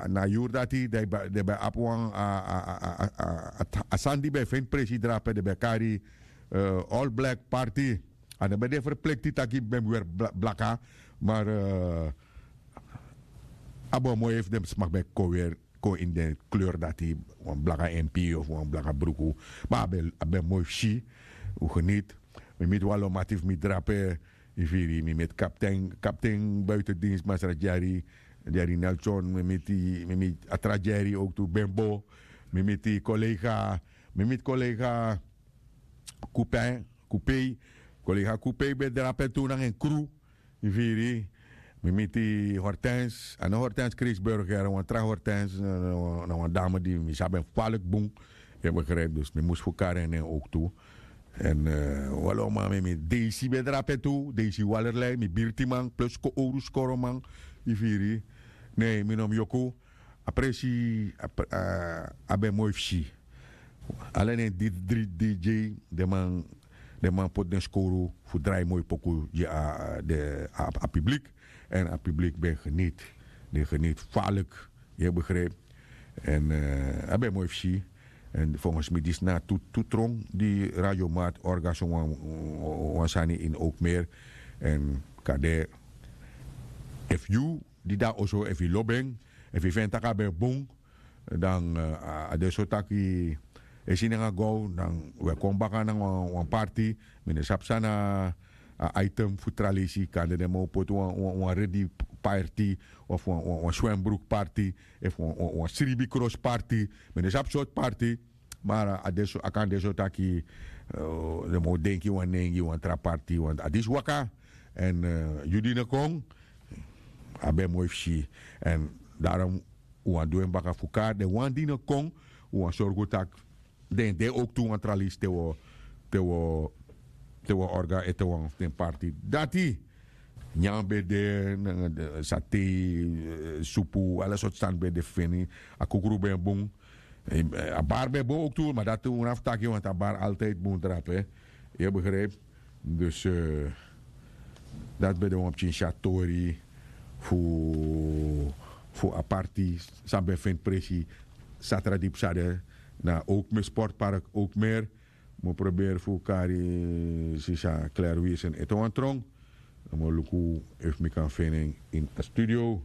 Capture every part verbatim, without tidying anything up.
Na a yuru dati den ben abi wan a sani di ben e feni presi drape den ben e kari all black party. A no ben de ferplikti taki ben mus weri blaka. Mar a ben o moi efu den sma ben kon weri kon ini den kleur dati, wan blaka mp of wan blaka bruku. Ma a ben moi fu si. Un geniti. Mi miti wan lo mati fu mi drape. Yu firi mi miti kapten kapten buitendins masra dyari. Dyari nelson mi miti mi miti a tra dyari owktu bembo. Mi miti kolega mi miti kolega kupen kupei. Kolega kupei ben drape tu nanga en kru. Yu firi mi miti hortens a no hortens kreisburger wan tra hortens. Na wan dame di mi sabi en falik bun. Yu begrijp dus mi mus fu kari en nen owktu. Èn walo man mi mi deisi ben drape tu deisi walerlei mi birtiman plus ko owru skoroman. Yu firi. Ne mi no mi yoku. A presi a ben moi fu si. Ala nen didri dj den man den man poti den skowru fu drai moi poku gi a a piblik. Èn a piblik ben geniti. Den geniti falik. Yu e begrijp. Èn a ben moi fu si. Èn volgens mi disi na a tu tu tron di radiomat orga so wan sani ini ouk meer. Èn kade efu yu di de na oso efu yu lobi en efu yu feni tak' a ben bun. Dan a de so taki e si nanga gow dan un e kon baka nanga wan parti. Mi no sabi san na a item fu tra leisi kande den man o poti wan redi parti of wan swembroek parti efu wan sribi kros parti. Mi no sabi sortu parti. Mar a de so a kan de so taki den man o denki wan nen gi wan tra parti want a disi waka. Èn yu di no kon a ben moi fu si. Èn darom un wani du en baka fu kari den wan di no kon un wani sorgu tak' den de owktu wan tra leisi te wi o te wi o orga ete wan fu den parti dati. Nyan ben de nanga satei supu ala sortu sani ben de feni. A kukru ben bun. A bari ben bun owktu ma dati un na fu taki want a bari altijdi bun drape. Yu e begrijp. Dus dati ben de wan pikin si a tori fu fu a parti san ben feni presi. Satra di psa de na ouk mi sportpark ouk meer. Mi o proberi fu kari sisa klerwiesen ete wan trong. Dan mi o luku efu mi kan feni en ini a studio.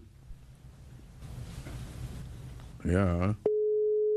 Ya.